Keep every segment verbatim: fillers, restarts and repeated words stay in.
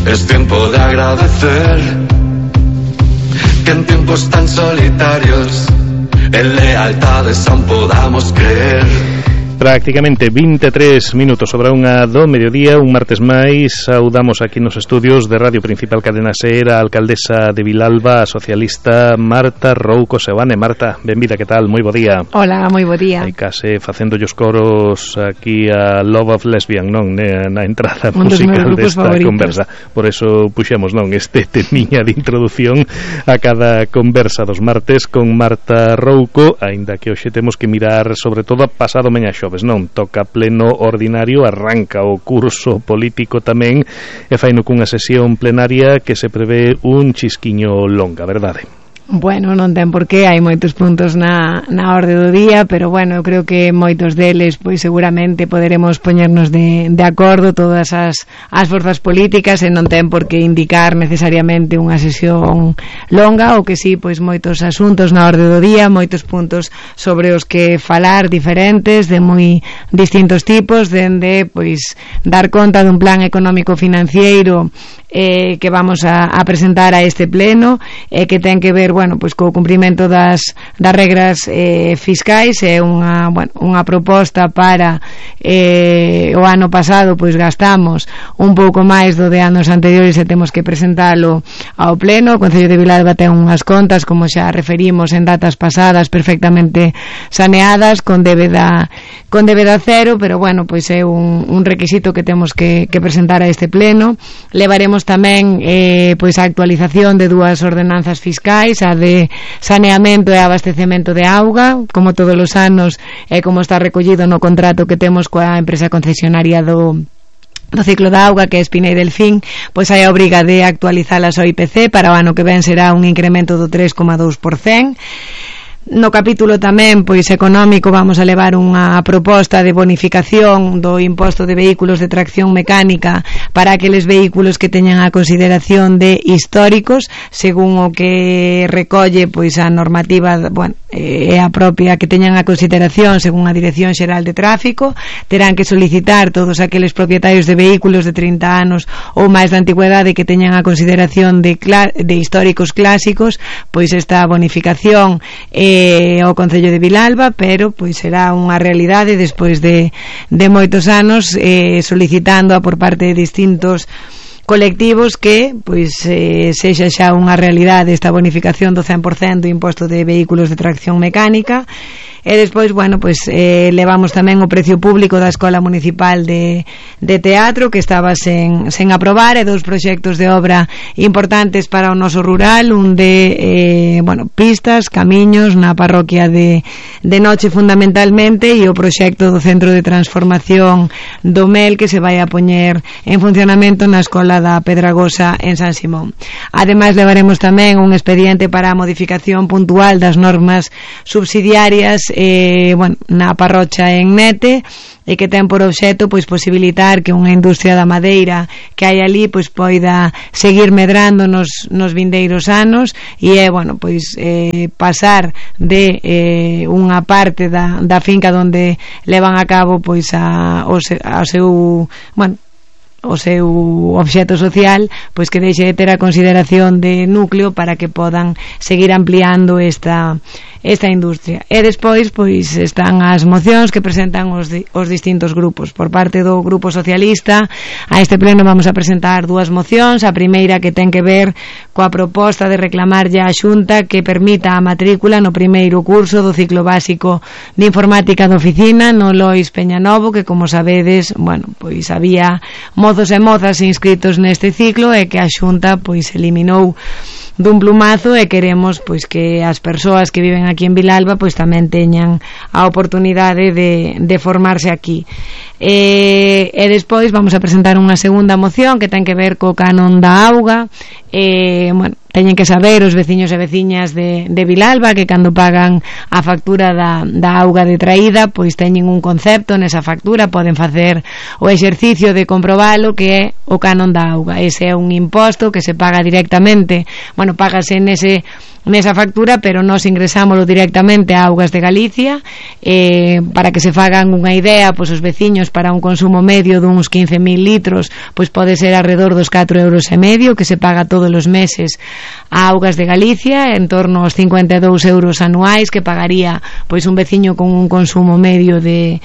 es tiempo de agradecer que en tiempos tan solitarios en lealtades aún podamos creer. Prácticamente vinte e tres minutos sobre unha do mediodía, un martes máis. Saudamos aquí nos estudios de Radio Principal Cadena Ser a alcaldesa de Vilalba, a socialista Marta Rouco Seoane. Marta, benvida, que tal? Moi bo día. Hola, moi bo día. Hai case facendo os coros aquí a Love of Lesbian, non? Na entrada un musical desta favoritos. Conversa. Por eso puxemos, non, este temiña de introdución a cada conversa dos martes con Marta Rouco, aínda que hoxe temos que mirar sobre todo a pasado meña xoves, non? Toca pleno ordinario, arranca o curso político tamén e faino cunha sesión plenaria que se prevé un chisquiño longa, verdade? Bueno, non ten por qué, hai moitos puntos na, na orde do día, pero bueno, eu creo que moitos deles pois seguramente poderemos poñernos de, de acordo todas as, as forzas políticas e non ten por que indicar necesariamente unha sesión longa, ou que sí, pois moitos asuntos na orde do día, moitos puntos sobre os que falar diferentes, de moi distintos tipos, dende pois dar conta dun plan económico financiero eh, que vamos a, a presentar a este pleno, eh, que ten que ver bueno, pois co cumprimento das, das regras eh, fiscais. É unha, bueno, unha proposta para eh, o ano pasado pois gastamos un pouco máis do de anos anteriores e temos que presentalo ao pleno. O Concello de Vilalba ten unhas contas, como xa referimos en datas pasadas, perfectamente saneadas, con débeda con débeda cero, pero bueno, pois é un, un requisito que temos que, que presentar a este pleno. Levaremos tamén eh, pois a actualización de dúas ordenanzas fiscais, a de saneamento e abastecemento de auga, como todos os anos e como está recollido no contrato que temos coa empresa concesionaria do do ciclo da auga, que é Espinei Delfín, pois hai a obriga de actualizalas ao I P C. Para o ano que ven será un incremento do tres coma dous por cento. No capítulo tamén pois económico vamos a levar unha proposta de bonificación do imposto de vehículos de tracción mecánica para aqueles vehículos que teñan a consideración de históricos, según o que recolle pois a normativa, bueno, é a propia que teñan a consideración según a Dirección Xeral de Tráfico. Terán que solicitar todos aqueles propietarios de vehículos de trinta anos ou máis de antigüedade que teñan a consideración de, de históricos clásicos, pois esta bonificación é eh, ao Concello de Vilalba, pero pois será unha realidade despois de, de moitos anos eh, solicitando por parte de distintos colectivos que pois eh, sexa xa unha realidade esta bonificación do cen por cento do imposto de vehículos de tracción mecánica. E despois, bueno, pois eh, levamos tamén o precio público da Escola Municipal de, de Teatro, que estaba sen, sen aprobar, e dous proxectos de obra importantes para o noso rural, un de eh, bueno, pistas, camiños na parroquia de, de Noche fundamentalmente, e o proxecto do Centro de Transformación do Mel, que se vai a poñer en funcionamento na Escola da Pedragosa en San Simón. Ademais, levaremos tamén un expediente para a modificación puntual das normas subsidiarias eh, bueno, na parrocha en Nete, e que ten por obxecto pois posibilitar que unha industria da madeira que hai ali pois poida seguir medrando nos, nos vindeiros anos, e é, bueno, pois eh, pasar de eh, unha parte da, da finca onde levan a cabo pois a, o, se, a seu, bueno, o seu obxecto social, pois que deixe de ter a consideración de núcleo para que podan seguir ampliando esta esta industria. E despois pois están as mocións que presentan os, di, os distintos grupos. Por parte do Grupo Socialista, a este pleno vamos a presentar dúas mocións. A primeira, que ten que ver coa proposta de reclamar ya a Xunta que permita a matrícula no primeiro curso do ciclo básico de informática de oficina no Lois Peñanovo, que, como sabedes, bueno, pois había mozos e mozas inscritos neste ciclo e que a Xunta pois eliminou dun plumazo, e queremos pois que as persoas que viven aquí en Vilalba pois tamén teñan a oportunidade de, de formarse aquí. E, e despois vamos a presentar unha segunda moción que ten que ver co canon da auga. E, bueno, teñen que saber os veciños e veciñas de, de Vilalba que cando pagan a factura da, da auga de traída pois teñen un concepto nesa factura, poden facer o exercicio de comprobalo, que é o canon da auga. Ese é un imposto que se paga directamente, bueno, págase nese nesa factura, pero nós ingresámoslo directamente a Augas de Galicia, eh, para que se fagan unha idea, pois os veciños para un consumo medio duns quince mil litros, pois pode ser alrededor dos catro euros e medio que se paga todos os meses a Augas de Galicia, en torno aos cincuenta e dous euros anuais que pagaría pois un veciño con un consumo medio de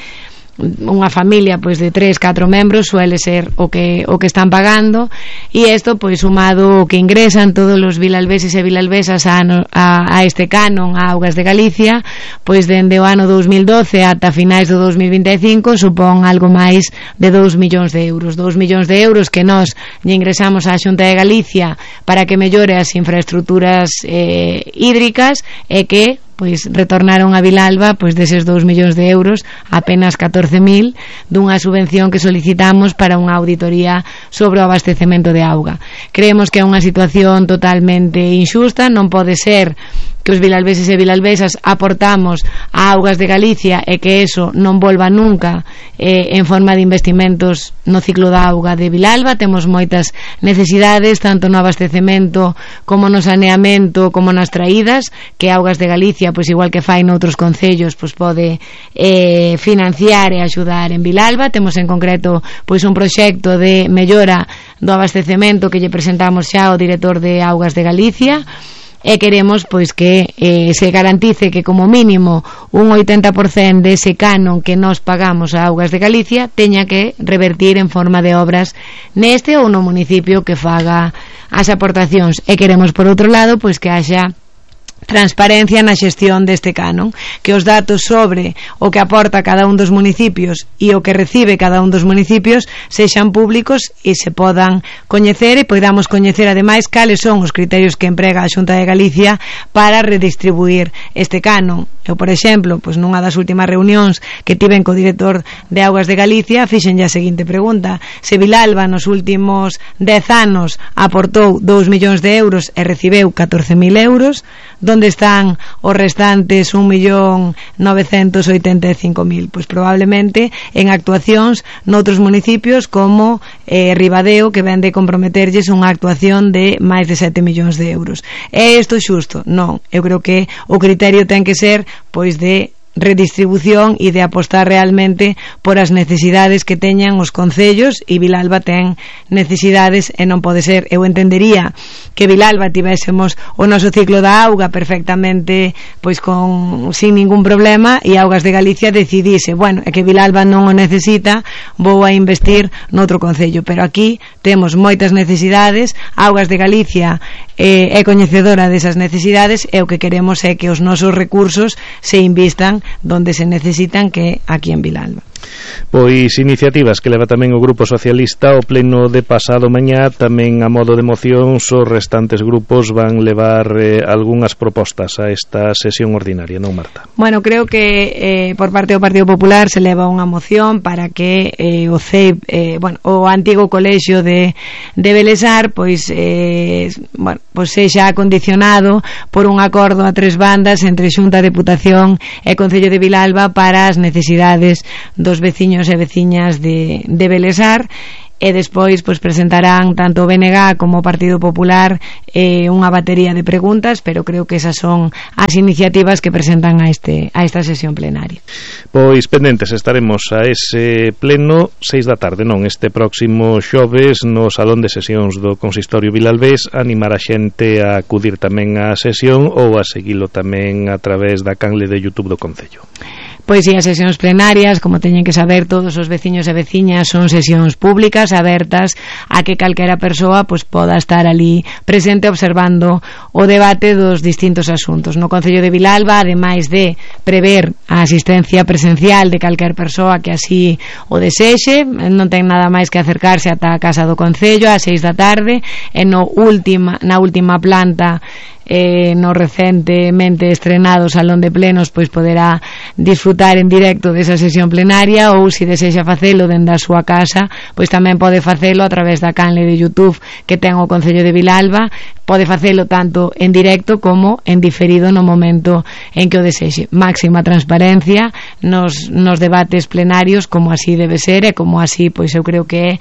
unha familia pois de tres, catro membros, suele ser o que o que están pagando, e isto pois sumado o que ingresan todos os vilalbeses e vilalbesas a, a, a este canon a Augas de Galicia, pois dende o ano dous mil doce ata finais do dous mil vinte e cinco supón algo máis de dous millóns de euros dous millóns de euros que nós lle ingresamos á Xunta de Galicia para que mellore as infraestructuras eh, hídricas, e que pois retornaron a Vilalba pois deses dous millóns de euros apenas catorce mil dunha subvención que solicitamos para unha auditoría sobre o abastecemento de auga. Creemos que é unha situación totalmente injusta, non pode ser que os vilalbeses e vilalbesas aportamos a Augas de Galicia e que eso non volva nunca eh, en forma de investimentos no ciclo da auga de Vilalba. Temos moitas necesidades tanto no abastecemento como no saneamento como nas traídas, que Augas de Galicia, pois igual que fai noutros concellos, pois pode eh, financiar e axudar en Vilalba. Temos en concreto pois un proxecto de mellora do abastecemento que lle presentamos xa ao director de Augas de Galicia, e queremos pois que eh, se garantice que como mínimo un oitenta por cento dese canon que nós pagamos a Augas de Galicia teña que revertir en forma de obras neste ou no municipio que faga as aportacións, e queremos por outro lado pois que haxa transparencia na xestión deste canon, que os datos sobre o que aporta cada un dos municipios e o que recibe cada un dos municipios sexan públicos e se podan coñecer, e podamos coñecer ademais cales son os criterios que emprega a Xunta de Galicia para redistribuir este canon. Eu, por exemplo, pois nunha das últimas reunións que tiven co director de Augas de Galicia, fixenlle a seguinte pregunta: se Vilalba nos últimos dez anos aportou dous millóns de euros e recibeu catorce mil euros, onde están os restantes un millón novecentos oitenta e cinco mil? Pois probablemente en actuacións noutros municipios como eh, Ribadeo, que ven de comprometerlles unha actuación de máis de sete millóns de euros. É isto xusto? Non, eu creo que o criterio ten que ser pois de redistribución e de apostar realmente por as necesidades que teñan os concellos, e Vilalba ten necesidades e non pode ser. Eu entendería que Vilalba tivésemos o noso ciclo da auga perfectamente pois con sin ningún problema, e Augas de Galicia decidise, bueno, é que Vilalba non o necesita, vou a investir noutro concello, pero aquí temos moitas necesidades. Augas de Galicia eh, é coñecedora desas necesidades, e o que queremos é que os nosos recursos se invistan donde se necesitan, que aquí en Vilalba. Pois iniciativas que leva tamén o Grupo Socialista. O pleno de pasado mañá tamén a modo de moción, os restantes grupos van levar eh, algunhas propostas a esta sesión ordinaria, non, Marta? Bueno, creo que eh, por parte do Partido Popular se leva unha moción para que eh, o C E I P, eh, bueno, o antigo colexio de, de Belesar pois, eh, bueno, pois sexa acondicionado por un acordo a tres bandas entre Xunta, Deputación e Concello de Vilalba para as necesidades dos veciños e veciñas de, de Belesar, e despois pois presentarán tanto o B N G como o Partido Popular eh, unha batería de preguntas, pero creo que esas son as iniciativas que presentan a este a esta sesión plenaria. Pois pendentes estaremos a ese pleno seis da tarde, non, este próximo xoves no Salón de Sesións do Consistorio Vilalbés. Animar a xente a acudir tamén á sesión ou a seguilo tamén a través da canle de YouTube do Concello. Pois si, as sesións plenarias, como teñen que saber todos os veciños e veciñas, son sesións públicas abertas a que calquera persoa pois poda estar ali presente observando o debate dos distintos asuntos. No Concello de Vilalba, ademais de prever a asistencia presencial de calquer persoa que así o desexe, non ten nada máis que acercarse ata a Casa do Concello ás seis da tarde, e no última, na última planta eh, no recentemente estrenado Salón de Plenos pois poderá disfrutar en directo desa sesión plenaria, ou se desexa facelo dende a súa casa pois tamén pode facelo a través da canle de YouTube que ten o Concello de Vilalba. Pode facelo tanto en directo como en diferido no momento en que o desexe. Máxima transparencia nos, nos debates plenarios, como así debe ser, e como así pois eu creo que é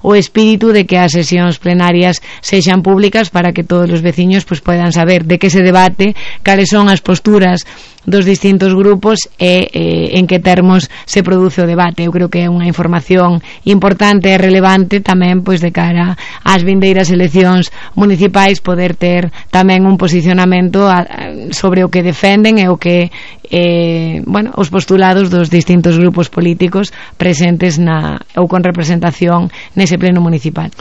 o espírito de que as sesións plenarias sexan públicas para que todos os veciños pues, poidan saber de que se debate, cales son as posturas dos distintos grupos e eh, en que termos se produce o debate. Eu creo que é unha información importante e relevante tamén pois de cara ás vindeiras eleccións municipais, poder ter tamén un posicionamento a, sobre o que defenden e o que eh, bueno, os postulados dos distintos grupos políticos presentes na, ou con representación nese pleno municipal.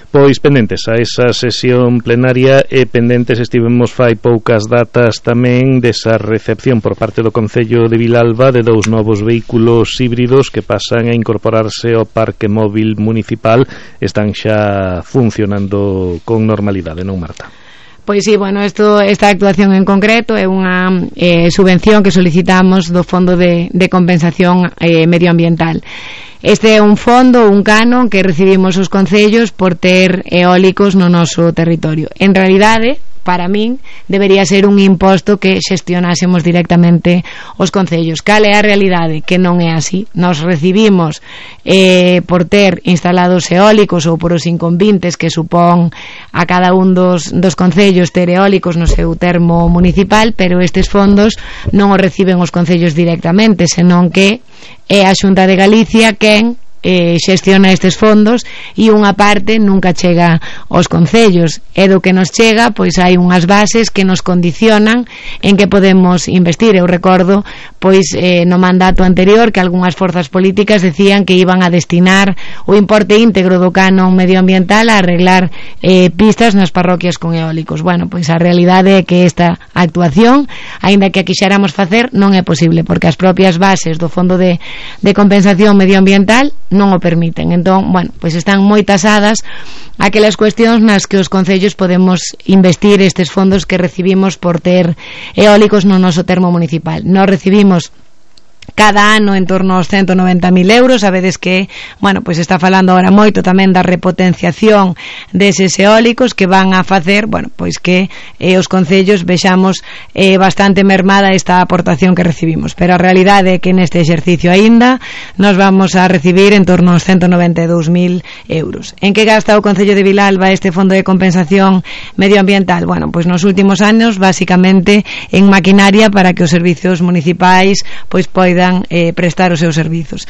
Pois pendentes a esa sesión plenaria e pendentes estivemos fai poucas datas tamén desa recepción por parte do Concello de Vilalba de dous novos vehículos híbridos que pasan a incorporarse ao parque móvil municipal. Están xa funcionando con normalidade, non, Marta? Pois sí, bueno, esto, esta actuación en concreto é unha eh, subvención que solicitamos do Fondo de, de Compensación eh, Medioambiental. Este é un fondo, un canon que recibimos os concellos por ter eólicos no noso territorio. En realidade, para min, debería ser un imposto que xestionásemos directamente os concellos. Cal é a realidade? Que non é así. Nos recibimos eh, por ter instalados eólicos ou por os inconvintes que supón a cada un dos, dos concellos ter eólicos no seu termo municipal, pero estes fondos non os reciben os concellos directamente, senón que é a Xunta de Galicia quen eh, xestiona estes fondos e unha parte nunca chega aos concellos, e do que nos chega pois hai unhas bases que nos condicionan en que podemos investir. Eu recordo pois eh, no mandato anterior que algunhas forzas políticas decían que iban a destinar o importe íntegro do canon medioambiental a arreglar eh, pistas nas parroquias con eólicos. Bueno, pois a realidade é que esta actuación, aínda que a quixéramos facer, non é posible porque as propias bases do Fondo de, de Compensación Medioambiental non o permiten. Entón, bueno, pois están moi tasadas aquelas cuestións nas que os concellos podemos investir estes fondos que recibimos por ter eólicos no noso termo municipal. Nos recibimos cada ano en torno aos ciento noventa mil euros. Sabedes que, bueno, pois está falando agora moito tamén da repotenciación deses eólicos que van a facer, bueno, pois que eh, os concellos vexamos eh, bastante mermada esta aportación que recibimos, pero a realidade é que neste exercicio aínda nos vamos a recibir en torno aos ciento noventa e dous mil euros. En que gasta o Concello de Vilalba este Fondo de Compensación Medioambiental? Bueno, pois nos últimos anos, basicamente en maquinaria para que os servizos municipais pois poidan Eh, prestar os seus servizos.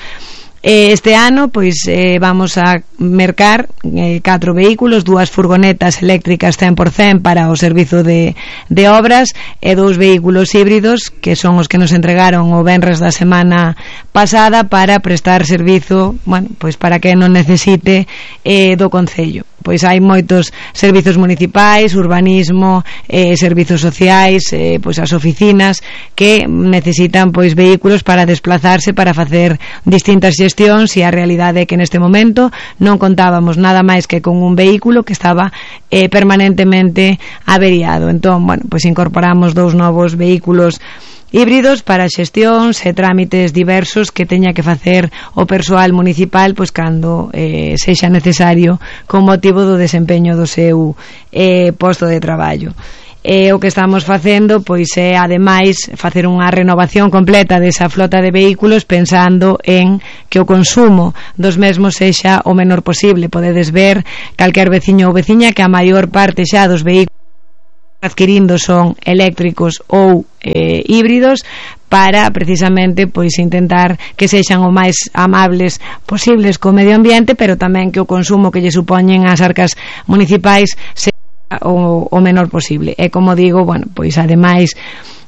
Eh, este ano pois eh, vamos a mercar eh, catro vehículos, dúas furgonetas eléctricas cen por cen para o servizo de, de obras e dous vehículos híbridos que son os que nos entregaron o venres da semana pasada para prestar servizo, bueno, pois para que non necesite eh, do Concello. Pois hai moitos servizos municipais, urbanismo, eh, servizos sociais, eh, pois as oficinas que necesitan pois vehículos para desplazarse, para facer distintas xestións, e a realidade é que neste momento non contábamos nada máis que con un vehículo que estaba eh, permanentemente averiado. Entón, bueno, pois incorporamos dous novos vehículos híbridos para xestións e trámites diversos que teña que facer o persoal municipal pois cando eh, sexa necesario con motivo do desempeño do seu eh, posto de traballo. E o que estamos facendo pois é ademais facer unha renovación completa desa flota de vehículos pensando en que o consumo dos mesmos sexa o menor posible. Podedes ver calquer veciño ou veciña que a maior parte xa dos vehículos adquirindo son eléctricos ou eh, híbridos para precisamente pois intentar que sexan o máis amables posibles co medio ambiente, pero tamén que o consumo que lle supoñen as arcas municipais sexa o, o menor posible. E como digo, bueno, pois ademais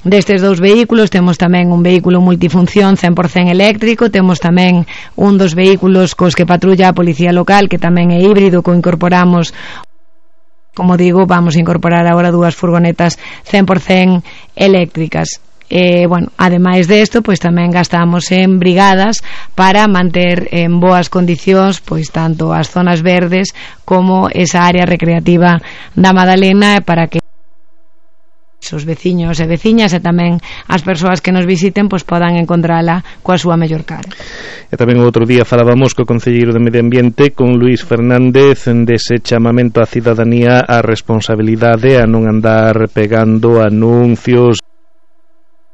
destes dous vehículos temos tamén un vehículo multifunción cen por cen eléctrico, temos tamén un dos vehículos cos que patrulla a Policía Local que tamén é híbrido, co incorporamos. Como digo, vamos a incorporar agora dúas furgonetas cen por cen eléctricas. Eh, bueno, ademais desto, pois tamén gastamos en brigadas para manter en boas condicións pois tanto as zonas verdes como esa área recreativa da Madalena, para que os veciños e veciñas e tamén as persoas que nos visiten pois podan encontrala coa súa mellor cara. E tamén outro día falábamos co concelleiro de Medio Ambiente, con Luís Fernández, dese chamamento á cidadanía á responsabilidade, a non andar pegando anuncios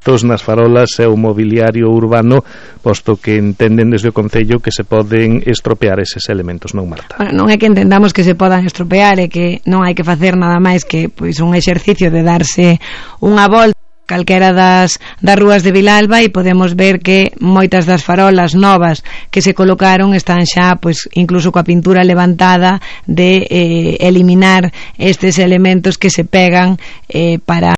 elementos nas farolas e o mobiliario urbano, posto que entenden desde o Concello que se poden estropear eses elementos, non, Marta? Bueno, non é que entendamos que se podan estropear, é que non hai que facer nada máis que pois un exercicio de darse unha volta calquera das, das rúas de Vilalba e podemos ver que moitas das farolas novas que se colocaron están xa pois incluso coa pintura levantada de eh, eliminar estes elementos que se pegan eh, para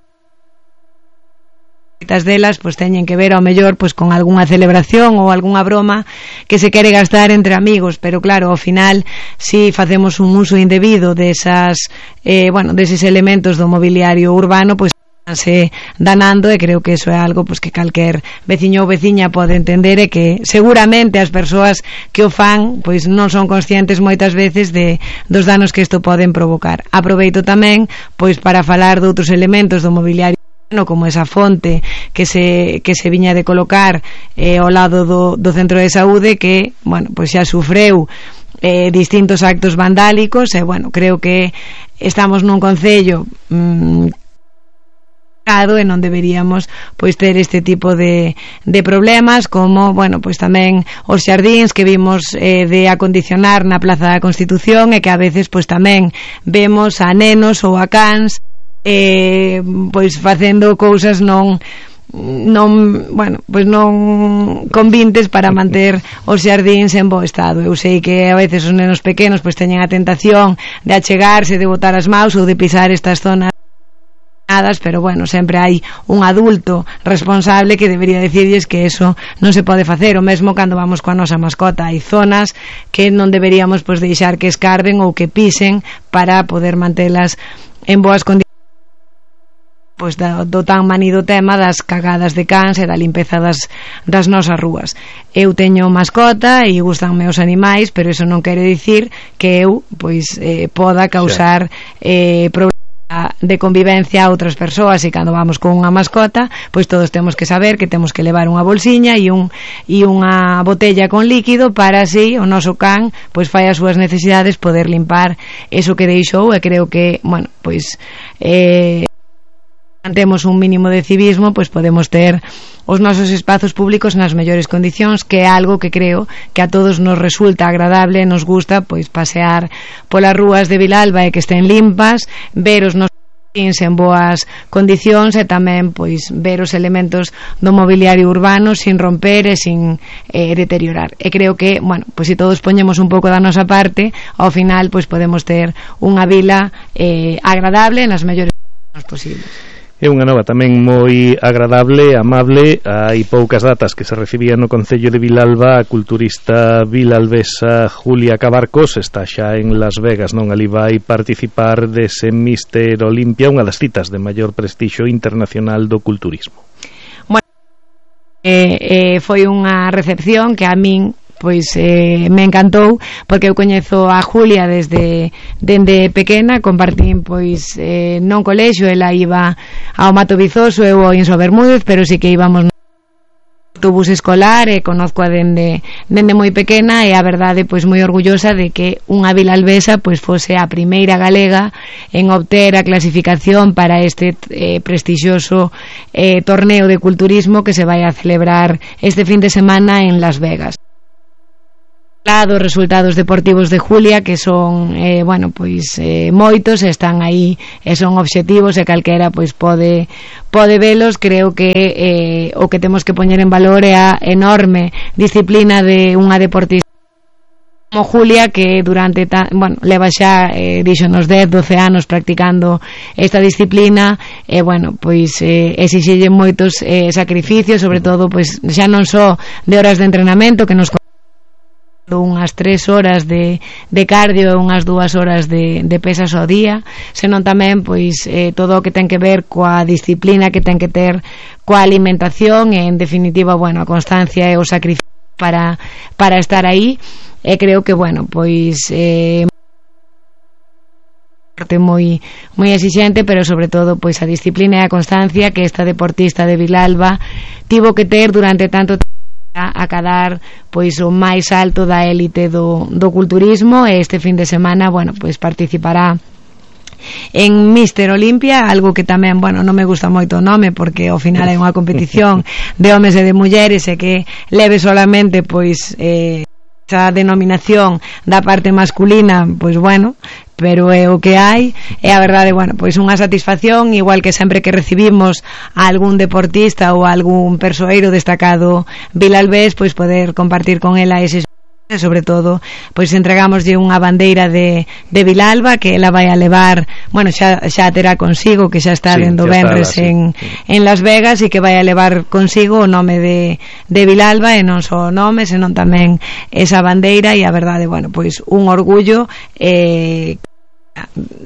moitas delas pois teñen que ver ao mellor pois con algunha celebración ou algunha broma que se quere gastar entre amigos, pero claro, ao final si facemos un uso indebido desas eh, bueno, deses elementos do mobiliario urbano, pois se danando, e creo que eso é algo pues, que calquer veciño ou veciña pode entender, e que seguramente as persoas que o fan pois non son conscientes moitas veces de dos danos que isto poden provocar. Aproveito tamén pois para falar de outros elementos do mobiliario como esa fonte que se que se viña de colocar eh, ao lado do, do centro de saúde, que bueno, pois xa sufreu eh, distintos actos vandálicos, e bueno, creo que estamos nun concello mmm, e non deberíamos pois ter este tipo de, de problemas, como, bueno, pois tamén os xardíns que vimos eh, de acondicionar na Plaza da Constitución, e que a veces pois tamén vemos a nenos ou a cans eh, pois facendo cousas non non, bueno, pois non convintes para manter os xardíns en bo estado. Eu sei que a veces os nenos pequenos pois teñen a tentación de achegarse, de botar as maus ou de pisar estas zonas, pero bueno, sempre hai un adulto responsable que debería decirlles que eso non se pode facer. O mesmo cando vamos coa nosa mascota, hai zonas que non deberíamos pois deixar que escarben ou que pisen para poder mantelas en boas condicións, pois do, do tan manido tema das cagadas de cans e da limpeza das, das nosas rúas. Eu teño mascota e gustanme os animais, pero eso non quere dicir que eu pois eh, poda causar eh, problemas de convivencia a outras persoas, e cando vamos con unha mascota pois todos temos que saber que temos que levar unha bolsiña e, un, e unha botella con líquido para así o noso can pois fai as súas necesidades, poder limpar eso que deixou. E creo que, bueno, pois eh, temos un mínimo de civismo, pois podemos ter os nosos espazos públicos nas mellores condicións, que é algo que creo que a todos nos resulta agradable, nos gusta pois pasear polas rúas de Vilalba e que estén limpas, ver os nosos en boas condicións, e tamén pois ver os elementos do mobiliario urbano sin romper e sin eh, deteriorar. E creo que, bueno, pois se todos poñemos un pouco da nosa parte, ao final pois podemos ter unha vila eh, agradable nas mellores condicións posibles. É unha nova tamén moi agradable, amable. Hai poucas datas que se recibía no Concello de Vilalba a culturista vilalbesa Julia Cabarcos. Está xa en Las Vegas, non? Ali vai participar dese Mister Olimpia, unha das citas de maior prestixio internacional do culturismo. Bueno, eh, eh, foi unha recepción que a min pois eh, me encantou, porque eu coñezo a Julia desde dende pequena, compartín pois eh, non colexio, ela iba ao Mato Vizoso, eu ao Inso Bermúdez, pero sí que íbamos no autobús escolar, e conozco a dende dende moi pequena, e a verdade pois moi orgullosa de que unha vilalbesa pois fose a primeira galega en obter a clasificación para este eh, prestixioso eh, torneo de culturismo que se vai a celebrar este fin de semana en Las Vegas. Dos resultados deportivos de Julia, que son eh, bueno, pois eh, moitos, están aí e son obxectivos, e calquera pois pode pode velos. Creo que eh, o que temos que poñer en valor é a enorme disciplina de unha deportista como Julia, que durante ta, bueno, leva xa eh, dixo nos dez, doce anos practicando esta disciplina, e bueno, pois eh, exixille moitos eh, sacrificios, sobre todo pois xa non só de horas de entrenamento, que nos unhas tres horas de, de cardio e unhas dúas horas de, de pesas ao día, senón tamén pois eh, todo o que ten que ver coa disciplina que ten que ter coa alimentación, e en definitiva, bueno, a constancia e o sacrificio para, para estar aí. E creo que, bueno, pois eh, moi moi exixente, pero sobre todo pois a disciplina e a constancia que esta deportista de Vilalba tivo que ter durante tanto tempo a cadar pois o máis alto da élite do, do culturismo. E este fin de semana, bueno, pois participará en Mister Olimpia, algo que tamén, bueno, non me gusta moito o nome porque ao final é unha competición de homes e de mulleres e que leve solamente pois eh, esa denominación da parte masculina, pois bueno, pero é o que hai, e a verdade, bueno, pois unha satisfacción, igual que sempre que recibimos a algún deportista ou a algún persoeiro destacado vilalbés, pois poder compartir con ela eses, sobre todo, pois entregámoslle unha bandeira de, de Vilalba que ela vai a levar, bueno, xa, xa terá consigo, que xa está sí, dendo venres sí. en, en Las Vegas, e que vai a levar consigo o nome de, de Vilalba, e non só o nome, senón tamén esa bandeira, e a verdade, bueno, pois un orgullo eh,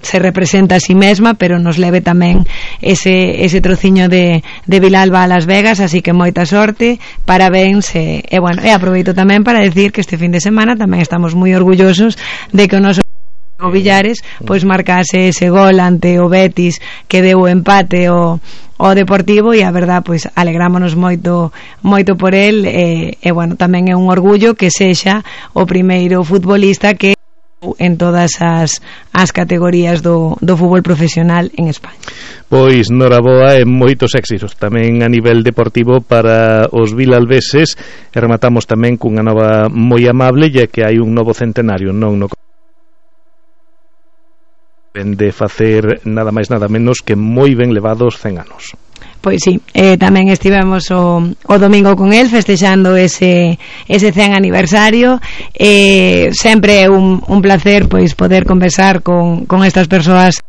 se representa a si mesma, pero nos leve tamén ese, ese trociño de, de Vilalba a Las Vegas, así que moita sorte, parabéns, e, e bueno, e aproveito tamén para decir que este fin de semana tamén estamos moi orgullosos de que o noso o Villares pois marcase ese gol ante o Betis que deu o empate o, o Deportivo, e a verdad pois alegrámonos moito moito por el, e, e bueno, tamén é un orgullo que sexa o primeiro futbolista que en todas as, as categorías do, do fútbol profesional en España. Pois noraboa e moitos éxitos tamén a nivel deportivo para os vilalveses, e rematamos tamén cunha nova moi amable, ya que hai un novo centenario, non no de facer nada máis nada menos que moi ben levados cen anos. Pois sí, eh, tamén estivemos o, o domingo con el festexando ese ese cen aniversario, eh, sempre é un, un placer pois poder conversar con, con estas persoas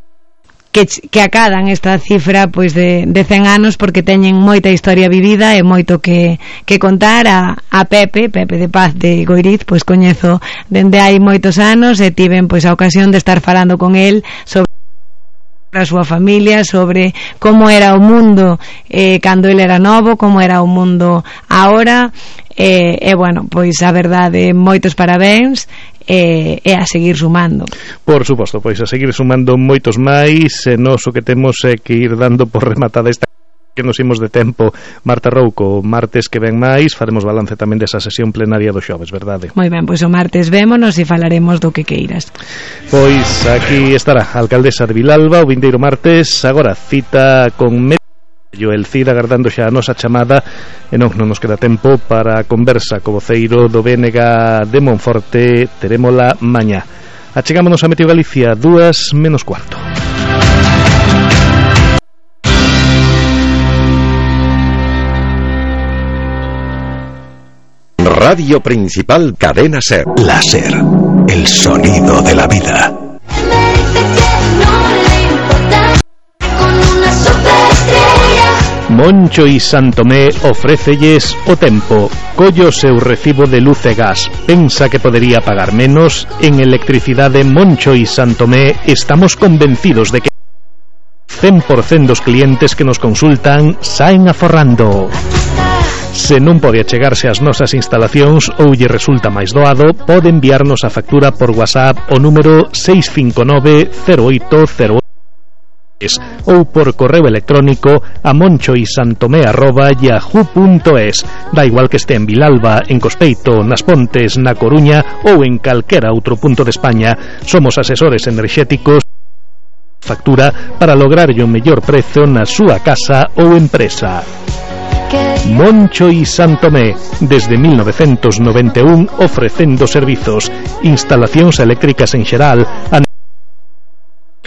que, que acadan esta cifra pois de, de cen anos, porque teñen moita historia vivida e moito que, que contar. A, a Pepe, Pepe de Paz de Goiriz, pois coñezo dende hai moitos anos, e tiven pois a ocasión de estar falando con el sobre a súa familia, sobre como era o mundo eh, cando ele era novo, como era o mundo agora, e eh, eh, bueno, pois a verdade, moitos parabéns, e eh, eh, a seguir sumando. Por suposto, pois a seguir sumando moitos máis, e nós o que temos é que ir dando por rematada esta que nos imos de tempo. Marta Rouco, martes que ven máis faremos balance tamén desa sesión plenaria do xoves, verdade? Moi ben, pois o martes vémonos e falaremos do que queiras. Pois aquí estará a alcaldesa de Vilalba o vindeiro martes. Agora cita con Medio el Cid, agardando xa a nosa chamada, e non, non nos queda tempo para a conversa co voceiro do B N G de Monforte. Terémola mañá. Achegámonos a Meteo Galicia, dúas menos cuarto. Radio Principal Cadena Ser. La Ser, el sonido de la vida. Moncho y Santomé ofrécelles o tempo. Collo seu recibo de luz e gas. Pensa que podería pagar menos? En Electricidade Moncho y Santomé estamos convencidos de que cen por cento dos clientes que nos consultan saen aforrando. Se non pode achegarse ás nosas instalacións ou lle resulta máis doado, pode enviarnos a factura por WhatsApp o número seis cinco nove cero oito cero ou por correo electrónico a monchoisantomé arroba yahoo punto es. Da igual que este en Vilalba, en Cospeito, nas Pontes, na Coruña ou en calquera outro punto de España, somos asesores enerxéticos factura para lograr o mellor prezo na súa casa ou empresa. Moncho y Santomé, desde mil novecientos noventa e un, ofrecendo servizos, instalacións eléctricas en xeral,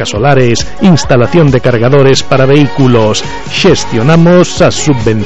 solares, instalación de cargadores para vehículos. Xestionamos a subvención